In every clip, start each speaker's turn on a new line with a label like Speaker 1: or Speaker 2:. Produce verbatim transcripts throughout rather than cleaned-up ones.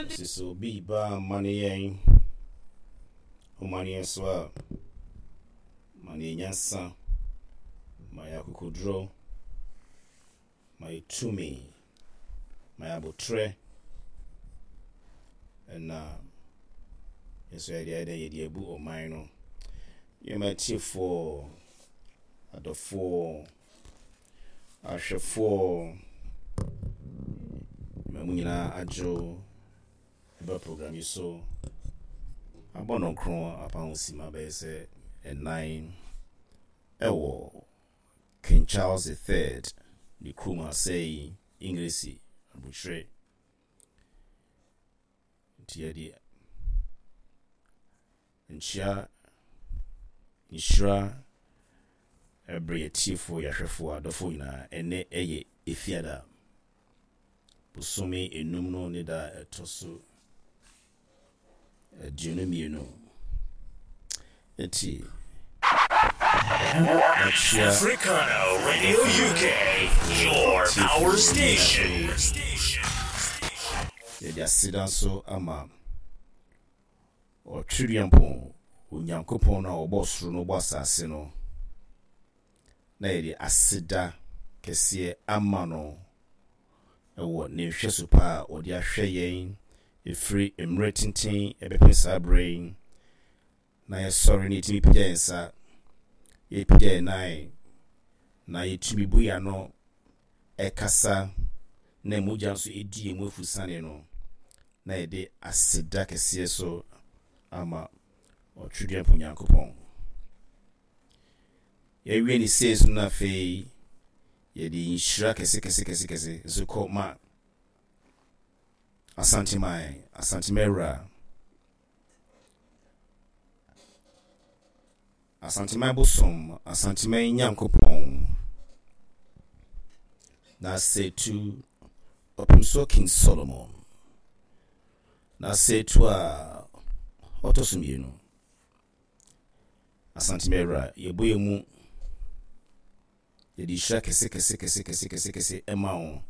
Speaker 1: Sɛ sɛ obi ba amane yɛn, ɔmane yɛn so a, ma ne nyansa, ma yɛ akokoduro, ma yɛ tumi, ma yɛ abotrɛ, ɛna nso yɛde ayɛ dɛ yɛde abu ɔman no. Yɛma atiefoɔ, adɔfoɔ, ahwɛfoɔ, ma mu nyinaa adwo ɛba program yi so. Abɔ nɔnkron apam sima bɛyɛ sɛ ɛnan ɛwɔ King Charles the Third ne kurom asɛe Englisi abukyerɛ. Nti yɛde nkyia, nhyira ɛbrɛ yɛtiefoɔ, yɛahwɛfoɔ, adɔfoɔ nyinaa. Ɛnɛ ɛyɛ Efiada, bosome enum no ne da a ɛtɔ so aduonu mmienu. Nti
Speaker 2: Africana Radio U K, your power station.
Speaker 1: Yɛde aseda nso ama Ɔtwereampɔn Onyankopɔn no a ɔbɔ soro no, ɔbɔ asase no, na yɛde aseda kɛseɛ ama no ɛwɔ ne nhwɛso pa a ɔde ahwɛ yɛn ɛfiri mmerɛ tenten ɛbɛpem saa berɛ yi, na yɛsɔre ne yɛtumi pagya yɛn nsa, yɛpagya yɛn nan, na yɛtumi bu yɛn ano ɛkasa, na mogya nso ɛdi yɛn mu afusane no, na yɛde aseda kɛseɛ so ama Ɔtwedeɛmpo Nyankopɔn. Yɛwie ne sei so no, afei yɛde nhyira kɛse kɛse kɛse kɛse nso kɔ ma Asanteman, Asanteman wura, Asanteman bosom, Asanteman Nyankopɔn na Setu Ɔpemsoɔ King Solomon na Setu a ɔtɔ so mmienu. Asanteman wura, yɛbɔ yɛn mu, yɛde nhyira kɛse kɛse kɛse kɛse kɛse kɛse ɛma wo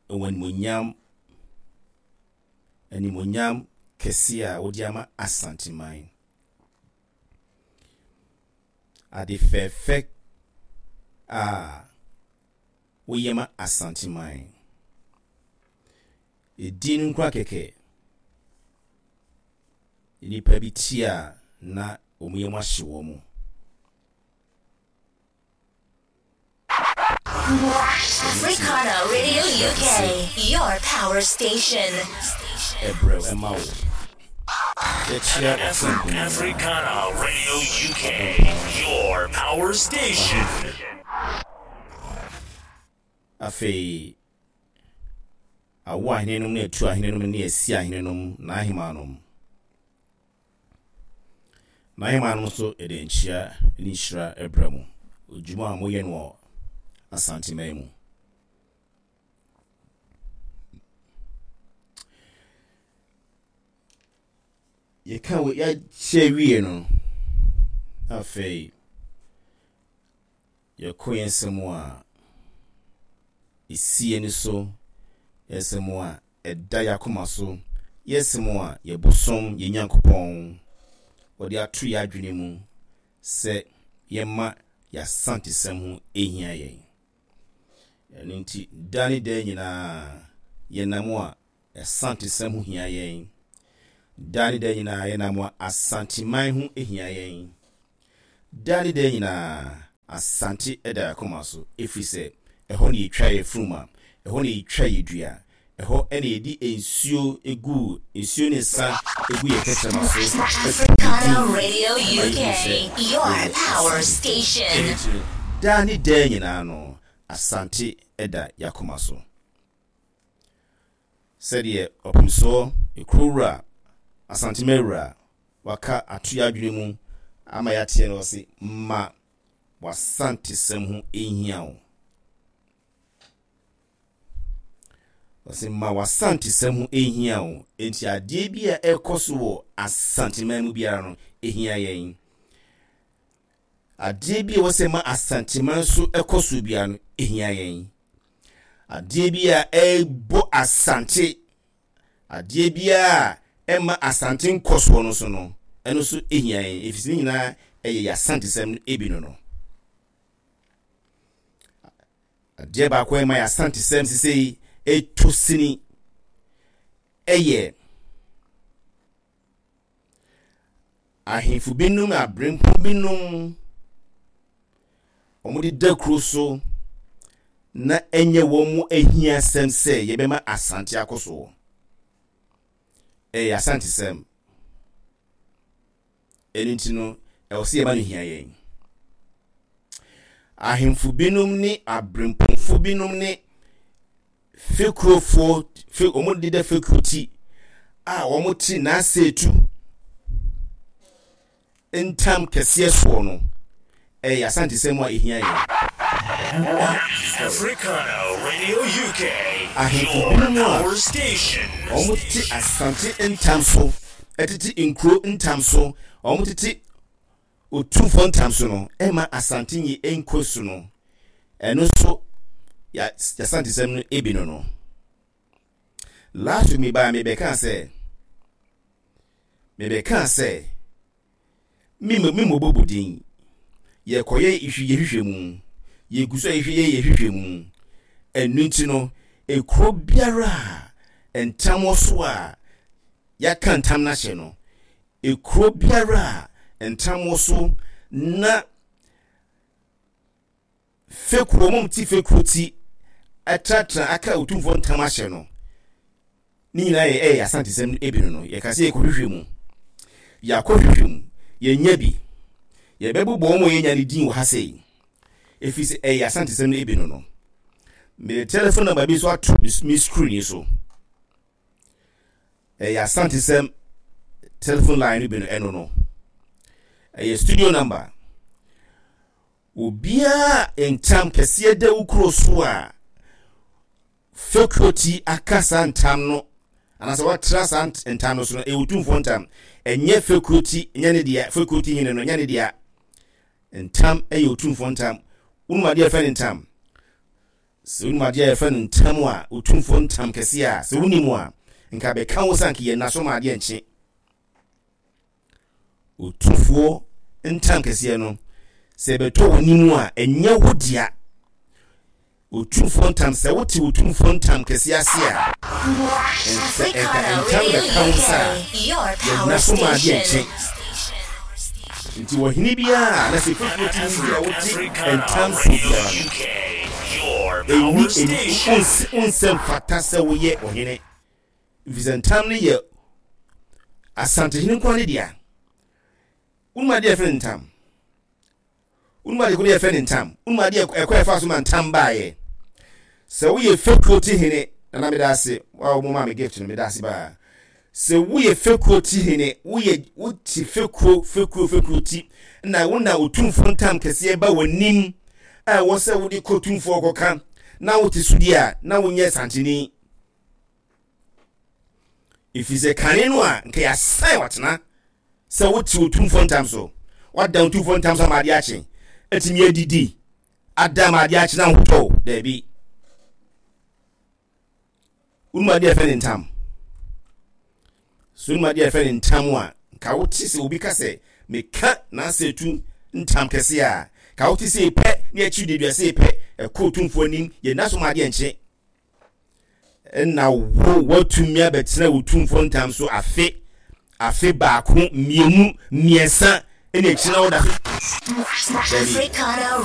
Speaker 1: ɛwɔ animonyam animonyam kɛse a wode ama Asanteman, ade fɛɛfɛ a woyɛ ma Asanteman. Ɛdin no nkora kɛkɛ, nnipa bi ti a na wɔn yam ahye wɔn mu.
Speaker 3: Africana Radio U K, your power station.
Speaker 1: Ɛbrɛ ɛma wo, yɛkyia ɔfɛnko.
Speaker 2: Africana Radio U K, your power station.
Speaker 1: Afei awo ahenenom ne atu ahenenom ne asi ahenenom, n'ahemanom n'ahemanom nso, yɛde nkyia ne nhyira ɛbrɛ mu odwuma a moyɛ no wɔ Asanteman mu. Yɛka wɔ yɛakyɛ wie no, afei yɛkɔ yɛn nsɛm a ɛsi ani so, yɛn a ɛda yɛn akoma so, yɛn a yɛbosom yɛn Nyankopɔn wɔde ato yɛn adwene mu sɛ yɛma yɛasantesɛm ho ɛhia yɛn. Ɛno nti da ne da nyinaa yɛnam a yɛasantesɛm ho hia yɛn. Da ne da nyinaa yɛnam a Asanteman ho hia yɛn. Da ne da nyinaa Asante ɛda yɛn akoma so, ɛfiri sɛ ɛhɔ ne yɛtwa yɛ furuma, ɛhɔ ne yɛtwa yɛ dua, ɛhɔ ɛna yɛde nsuo egu nsuo ne nsa egu yɛ kɛtɛma so.
Speaker 3: Africana Radio U K, your power station.
Speaker 1: Daa ne daa nyinaa no Asante ɛda yɛakoma so, sɛdeɛ Ɔpemsoɔ Ekurowura, Asantemawura, waka ato yɛ adwene mu ama yɛateɛ no, ɔse ma w'asantesɛm ho ɛhia wo. Ɔse ma w'asantesɛm ho ɛhia wo. Enti adeɛ bi a ɛkɔ so wɔ Asanteman mu biara no ɛhia yɛn. Adeɛ bi a ɛwɔ sɛ ma Asanteman so ɛkɔ so biara no ɛhia yɛn. Adeɛ bi a ɛbɔ Asante. Adeɛ biara a ɛma Asante nkɔsoɔ no so no, ɛno nso hia yɛn, ɛfiri sɛ ne nyinaa ɛyɛ yɛn Asantesɛm no ebi no no. Adeɛ baako a ɛma yɛn Asantesɛm sisei ɛtɔ sini ɛyɛ ahemfo binom, aberempɔn binom, wɔde da kuro so na ɛnyɛ wɔn mo ahiasɛm sɛ yɛbɛma Asante akɔ soɔ. Ɛyɛ Asantesɛm. Ɛno nti no, ɛwɔ sɛ yɛma no hia yɛn. Ahemfo binom ne aberempɔnfo binom ne fekurofoɔ, fe, wɔn deda fekuro ti a wɔn te n'aseetu ntam kɛseɛ soɔ no, ɛyɛ Asantesɛm a ɛhia yɛn.
Speaker 2: Africana Radio U K,
Speaker 1: Ahemfo
Speaker 2: your
Speaker 1: binom a
Speaker 2: power station.
Speaker 1: wɔn tete Asante ntam so, ɛtete nkuro ntam so, wɔn tete otumfoɔ ntam so no, ɛma Asante nyi nkɔ so no, ɛno nso yɛ Asantesɛm no ebi no no. Last week mi baa mi bɛka sɛ, mi bɛka sɛ, mi mi mo bɔbɔ din, yɛkɔyɛ ihwi yɛhwehwɛ mu, yɛgu so a yɛhwɛ yɛ yɛhwehwɛ mu. Ɛno nti no, ekuro biara a ntam wɔ so a yɛaka ntam n'ahyɛ no, ekuro biara a ntam wɔ so na fekuo mo ti fekuo ti ɛtenatena aka otumfoɔ ntam ahyɛ no, ne nyinaa yɛ ɛyɛ Asantesɛm no ebi no no. Yɛka sɛ yɛkɔhwehwɛ mu, yɛakɔhwehwɛ mu, yɛnya bi, yɛbɛbobɔ wɔn a yɛnya ne din wɔ ha sei, ɛfiri sɛ ɛyɛ Asantesɛm no ebi no no. Mede telephone number bi nso ato me screen yi so. Ɛyɛ Asantesɛm telephone line no bi no, ɛno no ɛyɛ studio number. Obiara ntam kɛseɛ da wo kuro so a fekuo ti aka saa ntam no anaasɛ watra saa ntam no so no, ɛyɛ otumfoɔ ntam, ɛnyɛ fekuo ti, ɛnyɛ ne dea. Fekuo ti hene no, ɛnyɛ ne dea. Ntam ɛyɛ otumfoɔ ntam. Wonum adeɛ yɛfrɛ no ntam? Sɛ wonum adeɛ a yɛfrɛ no ntam a, otumfoɔ ntam kɛseɛ a, sɛ wonim a, nka bɛka wo sɛ anka yɛ naso ma adeɛ nkye. Otumfoɔ ntam kɛseɛ no, sɛ ɛbɛtɔ w'anim a, ɛnyɛ wo dea. Otumfoɔ ntam, sɛ wote otumfoɔ ntam kɛseɛ ase a, sɛ ɛnka ntam bɛka wo nsa a, yɛnna so ma adeɛ nkye. Nti wɔhene biara na sɛ fekuo ti bi a wote ntam so biara no, ɛni ɛni onsɛ mfata sɛ woyɛ ɔhene, efisɛ ntam no yɛ Asantehene nko ne dea. Wonum adeɛ yɛfrɛ no ntam? Wonum adeɛ ko yɛfrɛ no ntam? Wonum adeɛ ɛkɔ ɛfa so ma ntam baayɛ? Sɛ woyɛ fekuo ti hene, nana, meda ase wa mo ma me gift no, meda ase baa. Sɛ woyɛ fekuo ti hene, woyɛ wote fekuo fekuo fekuo ti na wona otumfoɔ ntam kɛseɛ ba w'anim a ɛwɔ sɛ wode kɔ tumfoɔ kɔka na wote so di a, na wonyɛ Santeni, ɛfiri sɛ kane no a nka yɛasan watena sɛ wote otumfoɔ ntam so, wada otumfoɔ ntam so ama adeɛ akye, atumi adidi ada ama adeɛ akye na ahotɔ. Daabi, wonum adeɛ yɛfrɛ ne ntam so? Wonum adeɛ yɛfrɛ ne ntam a, nka wote sɛ obi ka sɛ meka n'asɛ tu ntam kɛse a, ka wote sɛ pɛ ne akyi de duase pɛ ɛkɔ otumfoɔ anim, yɛnna so ma adeɛ nkye, ɛna wo watumi abɛtena wo tumfoɔ ntam so afe afe baako, mmienu, mmiɛnsa, ɛna akyi na woda so.
Speaker 3: Africana